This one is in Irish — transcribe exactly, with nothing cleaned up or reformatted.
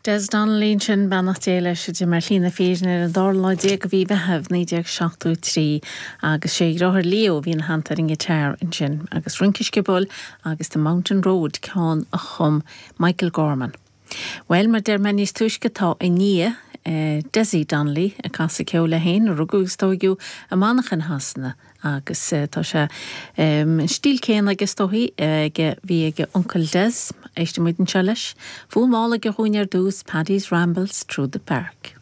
Des Donnelly sin beannacht Dé leis a d'imigh ar shlí na fírinne ar an dara lá déag de mhí Mheithimh naoi déag seachtó trí agus sé a dheartháir Leo a bhí ina theannta ar an ngiotár ansin agus Rince Sciobóil agus The Mountain Road ceann a chum Michael Gorman. Well mar deir mé níos túisce tá a nia eh, Desi Donnelly ag casadh ceoil é féin a rugadh agus tógadh i Manchain Shasana agus uh, tá sé um, an stíl céanna agus tóí ag bhí ag uncail Des éistfidh muid anseo leis, Fonn álainn dúinn ar dtús Paddy's Rambles Through the Park.